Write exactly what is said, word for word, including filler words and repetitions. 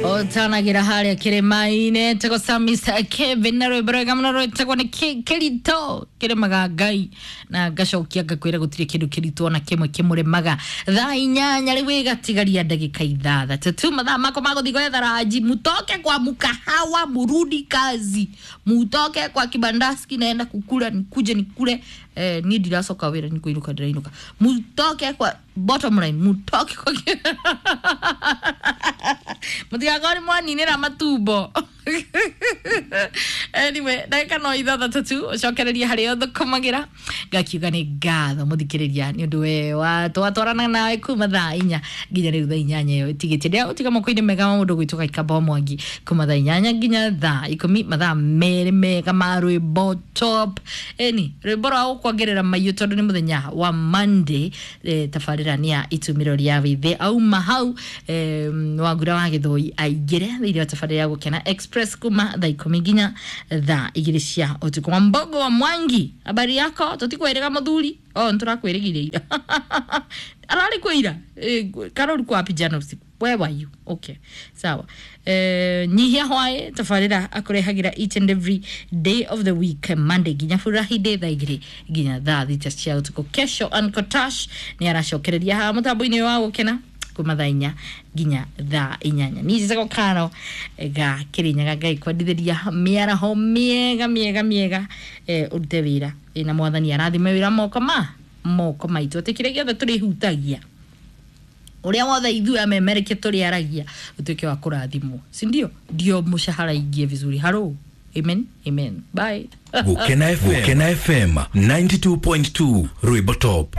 Otanagira haria kirima-inĩ etagwo sa Mister Kevin na rwĩmbo rwega mũno rwĩtagwo nĩ Kĩ- kĩritũ kĩrĩmaga Ngai na ngacokia ngakwĩra gũtirĩ kĩndũ kĩritũ ona kĩmwe kĩmũremaga. Thaa inyanya rĩu ĩgatigaria ndagĩka ithathatũ tu, mathaa makwa ma gũthiĩ gwetha ranji. Mutoke kwa mkahawa murudi kazi, mutoke kwa kibandaski, naenda kukula nikuje nikule. Eh, niĩ ndiracoka wĩra nĩ kũinũka ndĩrainũka. Mutoke kwa, bottom line, mutoke kwa mutigakorwo nĩ mwaninĩra matumbo. Anyway, ndagĩka no ithathatũ tu ũcokererie harĩa ũthũkũmagĩra. Ngakiuga nĩ ngatho mũthikĩrĩria nĩ ũndũ we wa twatwarana nawe kuma thaa inya nginya rĩu thaa inyanya ĩyo ĩtigĩtie. Ndĩragũtiga moko-inĩ mega ma mũndũ gwĩtwo Kaikamba wa Mwangi kuma thaa inyanya nginya thaa ikũmi, mathaa merĩ mega ma rwĩmbo top ĩni rwĩmbo rwa gũkuongerera maiyũ tondũ nĩ mũthenya wa Monday. eh, tabarĩra nĩ ya itumĩro rĩa wĩthĩ auma hau eh, wangura wa gĩthũi aingĩre thĩinĩ wa tabarĩra ya Gũkena Express kuma thaa ikũmi nginya thaa igĩrĩ cia ũtukũ. Wa Mbogo wa Mwangi, habari yako? Tũtikwĩrĩga mũthuri o nĩtũrakwĩrĩgire ira ararĩ kwĩ ira. Eh, Karol kwa wapi jana usiku? Where were you? Okay, sawa. Eh, nyihia hwaĩ tabarĩra akũrehagĩra each and every day of the week, Monday nginya Friday, thaa igĩrĩ nginya thaa thita cia ũtukũ. Kesho Ankotash nĩ aracokereria haha mũtambo-inĩ wa Gũkena kuma thaa inya nginya thaa inyanya. Niĩ njĩtagwo Karo ga Kĩrĩnyaga. Ngai kwendithĩria mĩaraho mĩega mĩega mĩega. eh, ũrute wĩra. Eh, na Mwathani arathime wĩra moko ma moko maitũ, atĩ kĩrĩa gĩothe tũrĩhutagia, ũrĩa wothe ithuĩ amemereke tũrĩaragia, ũtuĩke wa kũrathimwo, si ndio? Ndio mũshahara ingie vizuri. Haro, amen, amen, bye. Gukena F M, Gukena F M ninety-two point two Rwimbo Top.